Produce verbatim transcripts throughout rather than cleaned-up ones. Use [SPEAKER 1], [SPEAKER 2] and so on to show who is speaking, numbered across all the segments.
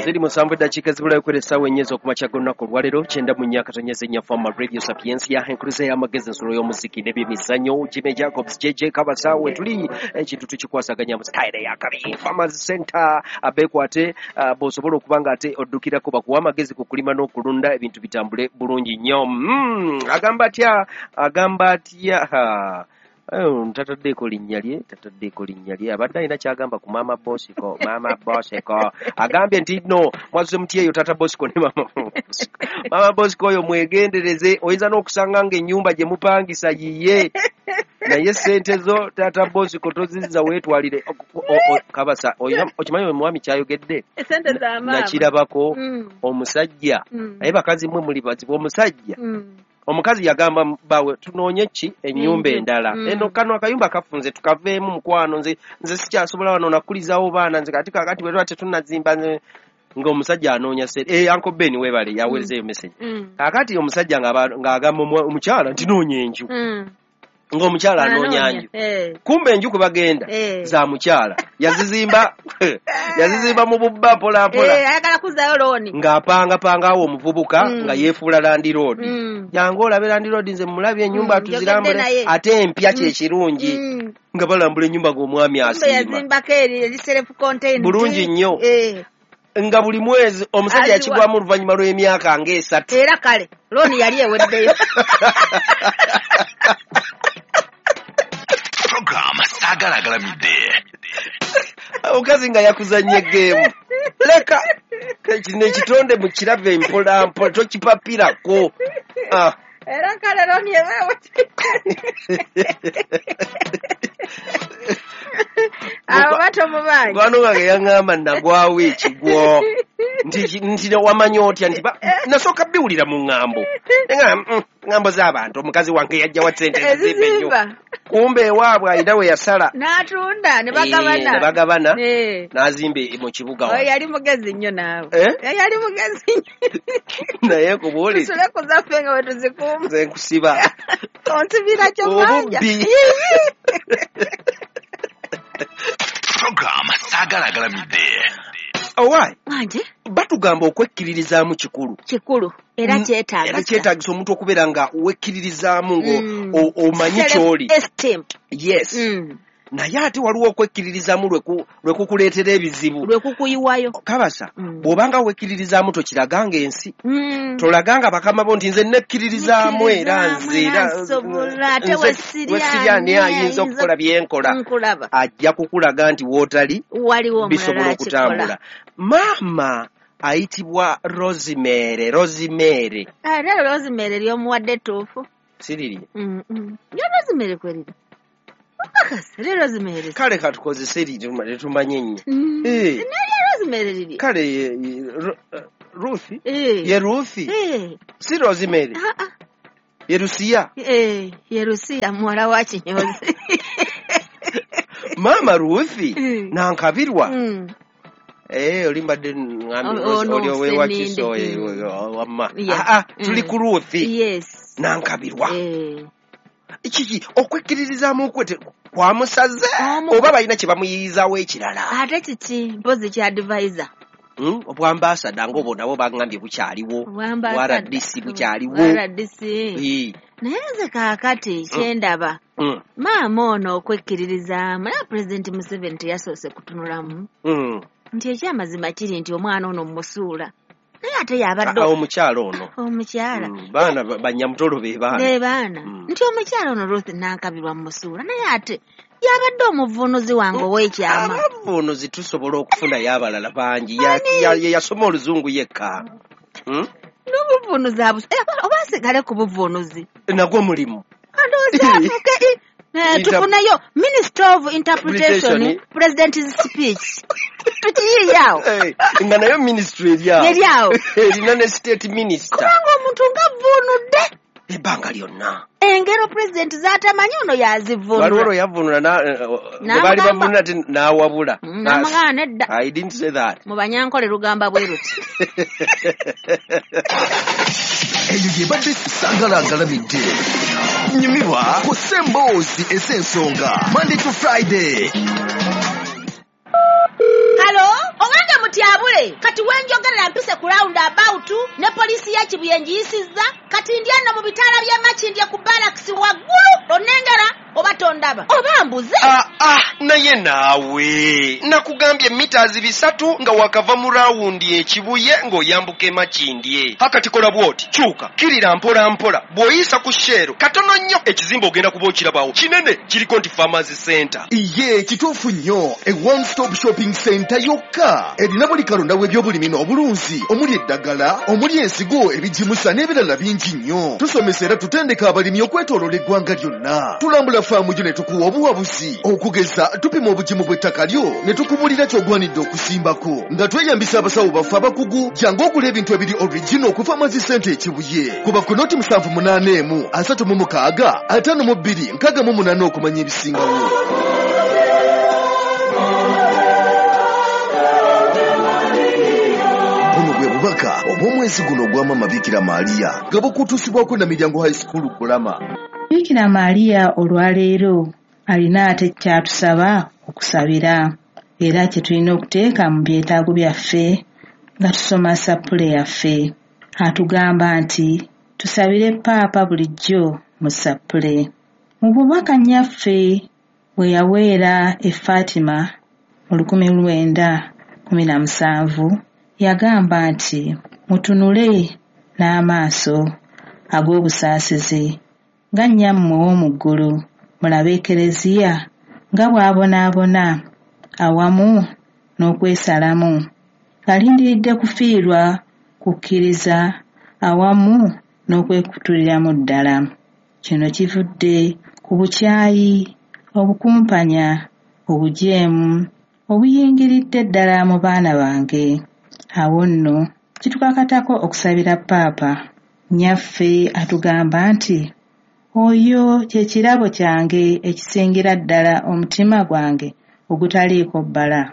[SPEAKER 1] Ziri musanvu eddakiika ezibulayo kwera essaawa ennya ez'okumakya g'olunaku olwaleero, kyenda mu nnya akatonyeza ennya Fama Radio Sapiensia, enkuluze y'amagezi, ensolo y'omuziki n'ebyemizannyo. Jimmy Jacobs, J J Kabasa, we tuli ekintu tukikwasaganya mu style ya kabi. Farmers Center abeekwate, uh, bw'osobola okuba nga ate oddukirako bakuwa amagezi ku kulima n'okulunda, ebintu bitambule bulungi nnyo. mm, agamba atya agamba atya Ha. Oh, tataddeeko linnya lye, tataddeeko linnya lye. Abadde alina kyagamba ku Maama Bosiko. Maama Bosiko agambye nti no mwazuze muti eyo Taata Bosiko ne Maama Bosiko. Maama Bosiko oyo mwegendereze, oyinza n'okusanga ng'ennyumba gye mupangisa yiye, naye sente zo Taata Bosiko tozizza weetwalire. O- o- o- kabasa oyina- okimanyi omwami kyayogedde?
[SPEAKER 2] Esente za maama.
[SPEAKER 1] Nakirabako.
[SPEAKER 2] Mm.
[SPEAKER 1] Omusajja,
[SPEAKER 2] Mm.
[SPEAKER 1] naye bakazi mmwe muli bazibu. Omusajja,
[SPEAKER 2] Mm.
[SPEAKER 1] omukazi yagamba bawe tunoonye ki ennyumba
[SPEAKER 2] Enju.
[SPEAKER 1] endala.
[SPEAKER 2] Mm.
[SPEAKER 1] Eno kano akayumba kafunze, tukaveemu mukwano, nze nze sikyasobola wano, nakulizaawo baana nze. Kati kakati bwe tuba tetunnazimba, nze ng'omusajja anoonya sente. Eh, Uncle Ben webale yaweerezeeyo message.
[SPEAKER 2] Mm.
[SPEAKER 1] Kakati omusajja ng'aba- ng'agamba omwa- omukyala nti noonya enju,
[SPEAKER 2] Mm.
[SPEAKER 1] ng'omukyala anoonya nju.
[SPEAKER 2] Eh.
[SPEAKER 1] Kumbe enju kwe bagenda
[SPEAKER 2] Eh.
[SPEAKER 1] za mukyala, yazizimba yazizimba mu bubba mpola mpola.
[SPEAKER 2] Eh, ayagala kuzaayo looni.
[SPEAKER 1] Ng'apangapanga awo omuvubuka,
[SPEAKER 2] Mm.
[SPEAKER 1] nga yeefuula landlord.
[SPEAKER 2] Mm.
[SPEAKER 1] Jangu olabe landlord, nze mulabye ennyumba,
[SPEAKER 2] Mm,
[SPEAKER 1] tuzirambule.
[SPEAKER 2] njogedde naye.
[SPEAKER 1] Ate empya kyekirungi,
[SPEAKER 2] Mm.
[SPEAKER 1] nga balambula ennyumba ng'omwami
[SPEAKER 2] Kumbe
[SPEAKER 1] asiima.
[SPEAKER 2] yazimbako eri eri self contained.
[SPEAKER 1] Bulungi nnyo.
[SPEAKER 2] Eh.
[SPEAKER 1] Nga buli mwezi omusajja
[SPEAKER 2] Aziwa.
[SPEAKER 1] yakigwamu oluvannyuma lw'emyaka ng'esatu.
[SPEAKER 2] Era kale looni yali eweddeyo.
[SPEAKER 3] Program Saagala Agalamidde.
[SPEAKER 1] Omukazi nga yakuzanya egeemu. Leka kino ekitonde mukirabe mpola mpola, tokipapirako. Ah.
[SPEAKER 2] Era kale looni ebeewo. Abo batomubanja.
[SPEAKER 1] Mukwano wange yaŋŋamba nagwawo ekigwo, nti nti wamanya otya nti ba- nasooka biwulira mu ŋŋambo. Neŋŋamba, mm, ŋŋambo z'abantu, omukazi wange yajja wa sente ezizimba ennyumba.
[SPEAKER 2] Ezizimba.
[SPEAKER 1] Kumbe ewaabwe alina we yasala.
[SPEAKER 2] N'atunda ne
[SPEAKER 1] Eh,
[SPEAKER 2] bagabana.
[SPEAKER 1] Ne bagabana.
[SPEAKER 2] Eh.
[SPEAKER 1] N'azimba mu kibuga
[SPEAKER 2] Oyo
[SPEAKER 1] wano.
[SPEAKER 2] yali mugezi nnyo naawe.
[SPEAKER 1] Eh?
[SPEAKER 2] Eh, yali mugezi nnyo.
[SPEAKER 1] Naye kubuulire,
[SPEAKER 2] Tusule ku zaffe nga bwe tuzikuuma.
[SPEAKER 1] Nze nkusiba.
[SPEAKER 2] Onsibira kyo manja.
[SPEAKER 1] Obubbi.
[SPEAKER 3] Program Saagala Agalamidde.
[SPEAKER 1] Owaayi,
[SPEAKER 2] Wanje.
[SPEAKER 1] batugamba okwekkiririzaamu kikulu.
[SPEAKER 2] Kikulu era.
[SPEAKER 1] Mm,
[SPEAKER 2] Kyetaagisa.
[SPEAKER 1] Era kyetaagisa omuntu okubeera nga wekkiririzaamu ngo
[SPEAKER 2] Mm.
[SPEAKER 1] o- omanyi ky'oli.
[SPEAKER 2] Self-esteem.
[SPEAKER 1] Yes.
[SPEAKER 2] Mm.
[SPEAKER 1] Naye ate waliwo okwekkiririzaamu lwe ku- lwe kukuleetera ebizibu.
[SPEAKER 2] Lwe kukuyiwayo.
[SPEAKER 1] Kabasa,
[SPEAKER 2] Mm.
[SPEAKER 1] bw'obanga wekkiririzaamu tokiraganga ensi,
[SPEAKER 2] Mm.
[SPEAKER 1] tolaganga bakama bo nti nze nekkiririzaamu era nze era
[SPEAKER 2] nsobola, ate
[SPEAKER 1] nze
[SPEAKER 2] wesiri
[SPEAKER 1] wesiri ani ayinza okukola byenkola.
[SPEAKER 2] Nkulaba.
[SPEAKER 1] Ajja kukulaga nti wootali
[SPEAKER 2] waliwo
[SPEAKER 1] bisobola
[SPEAKER 2] omulala
[SPEAKER 1] okutambula.
[SPEAKER 2] akikola.
[SPEAKER 1] Maama ayitibwa Rosemary, Rosemary.
[SPEAKER 2] Ate Rosemary lyomuwadde ettuufu.
[SPEAKER 1] Siriri?
[SPEAKER 2] Mm, mm. Lyo Rosemary kweriri okakasa lyo Rosemary.
[SPEAKER 1] Kale katukozese tetumanye ennyo.
[SPEAKER 2] Mm.
[SPEAKER 1] Eh.
[SPEAKER 2] Neryo Rosemary liri.
[SPEAKER 1] Kale ye- ye- Ru- eh, Ruth.
[SPEAKER 2] Eh.
[SPEAKER 1] Ye Ruth,
[SPEAKER 2] Eh.
[SPEAKER 1] si Rosemary.
[SPEAKER 2] Ah, ah.
[SPEAKER 1] Ye Lusiya.
[SPEAKER 2] Eh, ye Lusiya muwala wa kinyozi.
[SPEAKER 1] Maama Ruth
[SPEAKER 2] Mm.
[SPEAKER 1] Nankabirwa.
[SPEAKER 2] Mm.
[SPEAKER 1] Eh, oli mbadde ngambye
[SPEAKER 2] Oh, ono
[SPEAKER 1] oli owewakiso.
[SPEAKER 2] Sseninde. Mm.
[SPEAKER 1] Wamma.
[SPEAKER 2] Yeah.
[SPEAKER 1] Ah, ah, tuli
[SPEAKER 2] Mm.
[SPEAKER 1] ku Ruth
[SPEAKER 2] Yes.
[SPEAKER 1] Nankabirwa.
[SPEAKER 2] Eh.
[SPEAKER 1] Kiki okwekkiririzaamu kwe te- kwamusaze
[SPEAKER 2] Omu-
[SPEAKER 1] oba balina kye bamuyiyizawo ekirala?
[SPEAKER 2] Ate kiki mpozi kya advisor?
[SPEAKER 1] Mm, obwambasada ng'obwo nabwo baŋŋambye bukyaliwo.
[SPEAKER 2] Obwambasada.
[SPEAKER 1] R D C bukyaliwo.
[SPEAKER 2] R D C.
[SPEAKER 1] Eh,
[SPEAKER 2] Naye nze kaakati kyendaba,
[SPEAKER 1] mm,
[SPEAKER 2] maama ono okwekkiririzaamu, naye Pulezidenti Museveni teyasoose kutunulamu
[SPEAKER 1] mm.
[SPEAKER 2] nti ekyamazima kiri nti omwana ono mmusuula, naye ate yabadde
[SPEAKER 1] Ah, omukyala ono.
[SPEAKER 2] Omukyala.
[SPEAKER 1] Mm, baana ba- banyamutolo be baana.
[SPEAKER 2] Be baana.
[SPEAKER 1] Mm.
[SPEAKER 2] Nti omukyala ono Ruth Nankabirwa mmusuula, naye ate yabadde omuvuunuzi wange ow'ekyama.
[SPEAKER 1] Abavuunuzi tusobola okufunayo abalala bangi. Ya- ya- ye yasoma oluzungu yekka. Mm?
[SPEAKER 2] N'obuvuunuzi abu eh, oba asigale ku buvuunuzi.
[SPEAKER 1] Nagwo mulimu.
[SPEAKER 2] Andowooza afuuke eh,
[SPEAKER 1] Inter-
[SPEAKER 2] tufuneyo minister of interpretation,
[SPEAKER 1] Interpretation.
[SPEAKER 2] President's speech, tukiyiiyaawo.
[SPEAKER 1] Eh, nga nayo ministry eri awo.
[SPEAKER 2] Eri awo.
[SPEAKER 1] Erina ne state minister.
[SPEAKER 2] Kubanga omuntu nga avvuunudde
[SPEAKER 1] ebbanga lyonna
[SPEAKER 2] engero pulezidenti z'atamanyi, ono
[SPEAKER 1] waliwo
[SPEAKER 2] yazivvuunula.
[SPEAKER 1] lwe yavvuunula na- eh, bwe baali
[SPEAKER 2] N'amugamba-
[SPEAKER 1] bavvuunula ti n'awabula.
[SPEAKER 2] Mm, n'amugamba nedda.
[SPEAKER 1] I didn't say that.
[SPEAKER 2] Mu Banyankole lugamba bwe luti.
[SPEAKER 3] Eyo yebadde Saagala Agalamidde. Nyumirwa ku Semboozi ez'ensonga Monday to Friday.
[SPEAKER 2] Halo, owange mutyabule, kati wenjogera. y'ekibuye ngiyisizza, kati ndi eno mu bitaala by'e Makindye ku Barracks waggulu, onnengera oba tondaba oba mbuze.
[SPEAKER 1] Ah, ah, naye naawe nakugambye mitazi bisatu nga wakava mu rawundi ekibuye ng'oyambuka e Makindye. Hakati kola bw'oti, kyuka kirira mpola mpola, bw'oyisa ku Shell katono nnyo ekizimbe ogenda kuba okirabawo kinene, kiriko nti Farmers Center.
[SPEAKER 4] Iye kituufu nnyo, e one stop shopping center yokka erina buli kalonda w'ebyobulimi n'obulunzi, omuli eddagala, omuli ensigo, ebigimusa n'ebirala bingi nnyo. Tusomesa era tutendeka abalimi okwetooloola eggwanga lyonna. Tulambula faamu gyo ne tukuwa obuwabuzi, okugeza tupima obugimu bw'ettaka lyo ne tukubulira ky'ogwanidde okusimbako nga tweyambisa abasawo baffe abakugu. Jangu ogula ebintu ebiri original ku Farmers Center ekibuye. Kuba ku noti musanvu munaana emu asatu mu mukaaga ataano mu bbiri nkaaga mu munaana okumanya ebisingawo. Buno bwe bubaka obw'omwezi guno ogwa Maama Bikira Maria nga bukutuusibwako na Miryango High School Kulama.
[SPEAKER 5] Bikira Maria olwaleero alina ate kyatusaba okusabira, era kye tulina okuteeka mu byetaago byaffe nga tusoma sappule yaffe. Atugamba nti tusabire Paapa bulijjo mu sappule. Mu bubaka nnyaffe bwe yaweera e Fatima mu lukumi lwenda kumi na musanvu, yagamba nti mutunule n'amaaso ag'obusaasizi nga nnyammwe ow'omu ggulu, mulabe Ekereziya nga bw'abonaabona awamu n'okwesalamu, alindiridde kufiirwa kukkiriza awamu n'okwekutuliramu ddala. Kino kivudde ku bukyayi, obukumpanya, obujeemu obuyingiridde ddala mu baana bange. Awo nno kitukakatako okusabira Paapa. Nnyaffe atugamba nti oyo kye kirabo kyange ekisingira ddala omutima gwange ogutaliiko bbala.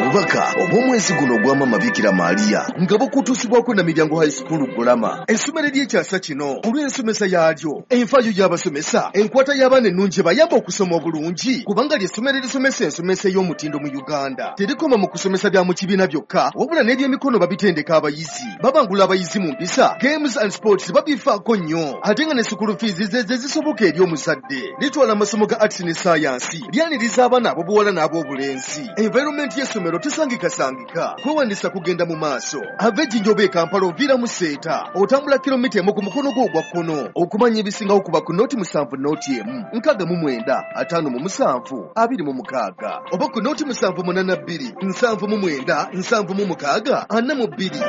[SPEAKER 4] Obubaka obw'omwezi guno ogwa Maama Bikira Maria nga bukutuusibwako na Miryango High School Kulama, essomero ery'ekyasa kino olw'ensomesa yaalyo, enfaayo y'abasomesa, enkwata y'abaana ennungi ebayamba okusoma obulungi, kubanga ly'essomero erisomesa ensomesa ey'omutindo mu Uganda. Terikoma mu kusomesa bya mu kibiina byokka, wabula n'ebyemikono babitendeka abayizi, babangula abayizi mu mpisa, games and sports babifaako nnyo, ate nga ne school fees ze ze zisoboka eri omuzadde. Litwala amasomo ga arts ne science, lyaniriza abaana ab'obuwala n'ab'obulenzi. Environment y'essomero tesangikasangika, kwewandisa kugenda mu maaso. Ava ejjinja oba e Kampala oviira mu Seeta, otambula kilomita emu ku mukono gwo ogwa kkono. Okumanya ebisingawo kuba ku noti musanvu noti emu nkaaga mu mwenda ataano mu musanvu abiri mu mukaaga, oba ku noti musanvu munaana bbiri nsanvu mu mwenda nsanvu mu mukaaga ana mu bbiri.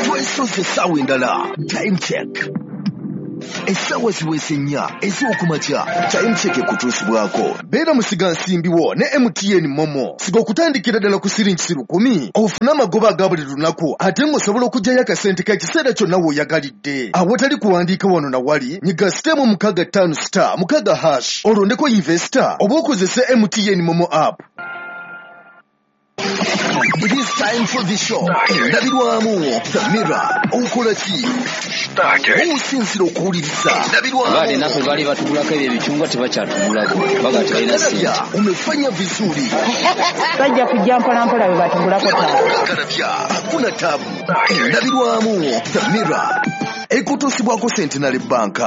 [SPEAKER 3] Twesoze essaawa endala. Time check. Essaawa ziweze nnya ez'okumakya. Time check ekutuusibwako.
[SPEAKER 4] Beera musigansimbi wo ne M T N Momo. Siga okutandikira ddala ku siringi lukumi ofune amagoba aga buli lunaku, ate ng'osobola okuggyayo akasente k'ekiseera kyonna w'oyagalidde. Awatali kuwandiika wano na wali, nyiga sitemu mukaaga ttaano star mukaaga hash olondeko investor oba okozese M T N Momo app.
[SPEAKER 3] It is time for the show. Endabirwamu The Mirror. Okola ki? Osinzira okuwuliriza.
[SPEAKER 6] Baade naffe baali batugulako ebyo ebicungwa tebakyatugulako. Baga tebalina ssente.
[SPEAKER 3] Umefanya vizuri.
[SPEAKER 5] Bajja kujja mpola mpola bwe batugulako taata.
[SPEAKER 3] Kalabya hakuna tabu. Endabirwamu The Mirror. Ekutuusibwako Centenary Bank.